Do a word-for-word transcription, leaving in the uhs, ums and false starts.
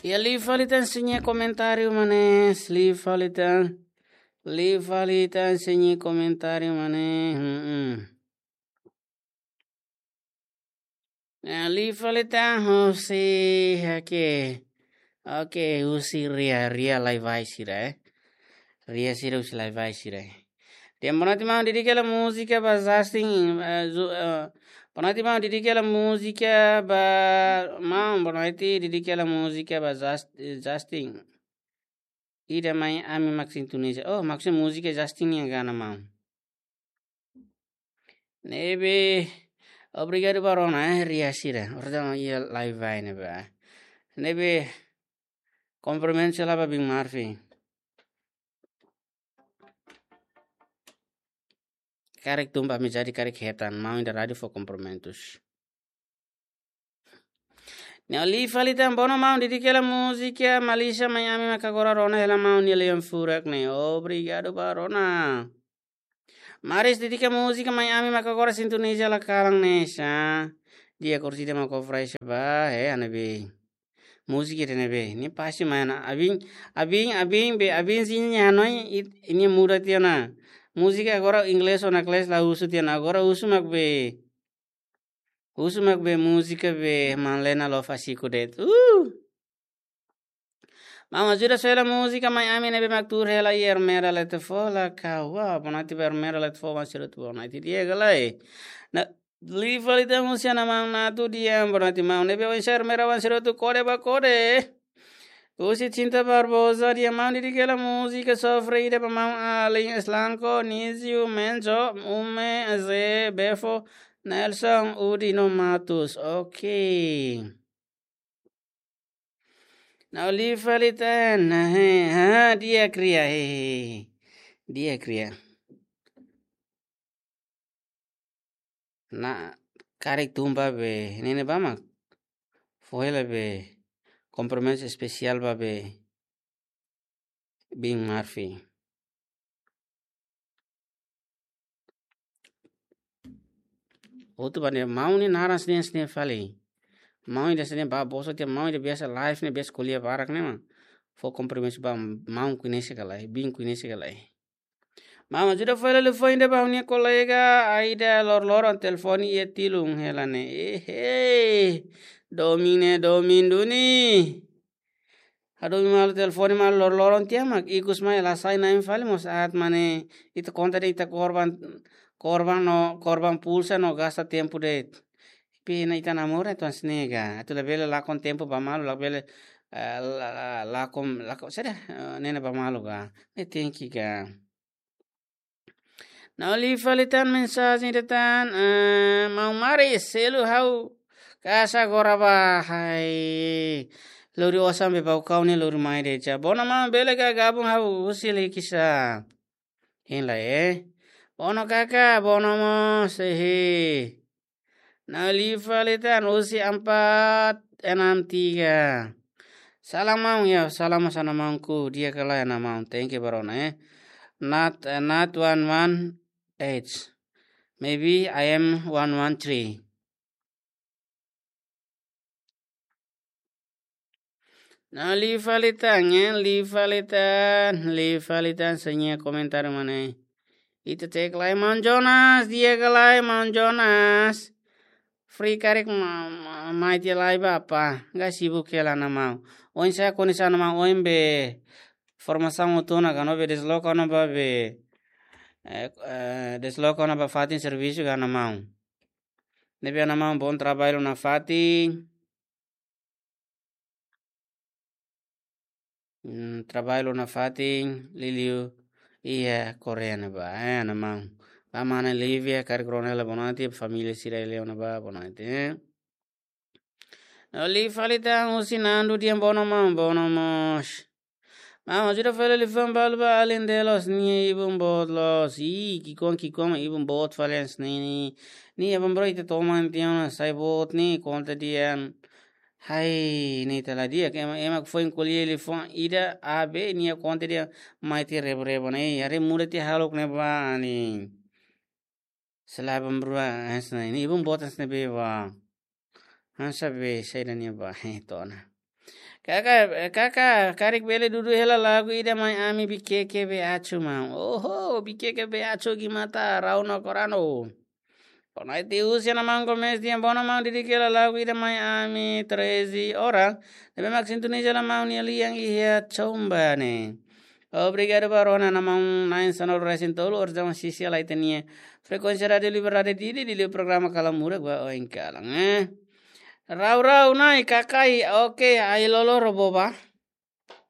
Iha liu fali tan sira-nia komentáriu, manes, liu fali tan. Liu fali tan sira-nia komentáriu, manes. Hmm, hmm. Nah, liu fali tan husi, oke. Oke, husi Ria, Ria Laivai sira, eh. Ria sira husi Laivai sira, eh. Dehan bonoite maun, dedika hela múzika ba Justin, eh, Ju-, eh, bonoite maun, dedika hela múzika ba, maun, bonoite dedika hela múzika ba Jus-, eh, Justin. Ida mai ami mak sintoniza. Oh, maksudnya múzika Justin nian ka, maun? Ne'ebé, obrigadu ba rona, eh, Ria sira. Ora tama iha Laivai ne'ebá. Ne'ebé, komprimentu sira ba Bin Marfi. Karik tun ba amizade karik hetan, maun ida rádiu fó komprimentus. Nah, liu fali tan, bono maun, dedika hela múzika Malícia Mai Ami mak agora rona hela maun nia lian furak ne'e. Obrigadu ba rona. Maris, dedika múzika Mai Ami mak agora sintoniza hela kalan ne'e, sa. Di'ak, orsida mak kofrai seba, eh, ane be. Múzika ida-ne'ebé. Ne'e pasti mai ona. Abin, abin, abin be, abin sin nia noi, it-, nia muda tiha ona. Múzika agora inglés ona, inglés la husu tiha ona. Agora husu mak be. Husu mak be múzika be Maun Lena Love Asiku de'it. Uh! Maun, ajuda soe hela múzika Mai Ami ne'ebé mak tuur hela iha Ermera Letefo la ka. Wah, bonoite ba Ermera Letefo, Maun Sirutu, bonoite di'ak ka lae. Nah, liu fali tan husi Ana Maun Natu dehan bonoite maun, ne'ebé oinsá Ermera, Maun Sirutu, kode ba kode. Husi Cinta Barbosa dehan maun, dedika hela múzika Sofre ida ba maun alin Slanco, Nizio, Menzo, Ume, Ze, Befo, Nelson, Udi no Matus. Oke. Nah, liu fali tan, nah, he, ha, di'ak Ria, he, he, he. Di'ak Ria. Nah, karik tun ba be, ne'e ne'ebá mak fó hela be, komprimentu espesiál ba be, Bin Marfi. Hotu ba ne'e maun nia naran sira-ne'e, sira-ne'e fali. Maun ida sira-ne'e ba boso tiha, maun ida biasa live ne'e, biasa ko'alia barak ne'e mak fó komprimentu ba maun, koñese ka lae, Bin koñese ka lae. Maun, ajuda fó hela liafuan ida ba ha'u-nia kolega Aida, loroloron telefone iha tilun hela ne'e. Ehe. Domin ne'e, domin duni. Hadomi malu telefone malu loroloron tiha mak ikus mai la sai na'in fali mós aat, maun ne'e, ita konta de'it ita korban, korban no, korban pulsa no gasta tempu de'it. Pena ita namora atu hanesan ne'e ka. Atu labele lakon tempu ba malu, labele, eh, la-, la-, lakon, lakon, saida, eh, ne'e ba malu ka. Ne'e tenke ka. Nah, liu fali tan mensajen ida tan, eh, maun Maris, selu ha'u kasa agora ba, hai. Lori osan be bau kau ne'e lori mai de'it. Bono maun, bele ka gabung ha'u husi Likisá. Hein lai, eh. Bono kaka, bono mós, ehe. Nah, liu fali tan husi empat enam tiga. Salam maun, ya, salam Ana Maunku, di'ak ka lae Ana Maun, tenke ba rona, eh. Not, eh, not one one eight. Maybe I am one one three. Nah, liu fali tan, eh, liu fali tan, liu fali tan sira-nia komentáriu, maun ne'e. Ita cek lai, maun Jonas, di'ak ka lae, maun Jonas. Free karik ma-, ma-, mai tiha lai ba apa? Ga sibuk hela Ana Maun. Oinsá kondisaun Ana Maun, oin be formasaun hotu ona ka, no be desloka ona ba be, eh, eh, desloka ona ba fatin servisu ka Ana Maun? Ne'ebé Ana Maun, bom trabalho nafatin. Hmm, trabalho nafatin, liuliu iha Koreia ne'ebá, eh, Ana Maun. Ba mana Lívia, karik rona hela bonoite, família sira iha Leon ne'ebá, bonoite, eh. Liu fali tan husi Nando dehan bono maun, bono mós. Maun, ajuda fó hela liafuan balu ba alin de'it loos, nia ibun boot loos. Ih, ki'ikoan, ki'ikoan, ibun boot fali hanesan ne'e. Ne'e, aban-bainrua ita toman tiha ona sai boot ne'e, konta dehan. Hai, ne'e ita la di'ak, ema, ema foin ko'alia liafuan ida, A B, nia konta dehan mai tiha rebo-rebo ne'e, haree muda tiha hahalok ne'ebá ne'e. Selae aban-bainrua, hanesan ne'e, ibun boot hanesan ne'ebé bá. Hanesan be, saida ne'e bá, eh, to'o ona. Kaka, kaka, karik bele dudu hela lagu ida mai ami Bikeke Beacu maun. Oho, Bikeke Beacu gimata rau no korano. Konai ti usia na maun komes dia bona maun didik hela lagu ida mai ami treze ora. Ne'ebé mak sintoniza hela maun nia lian iha Chomba ne'e. Obrigadu ba rona na maun na'in sanulu resin tolu, orizon sisi ala ita-nia frekuénsia Rádiu Liberdade Dili, Dili programa Kalamura gua oin kalang, eh. Rau-rau nai kakai, oke, ai lolo roboba.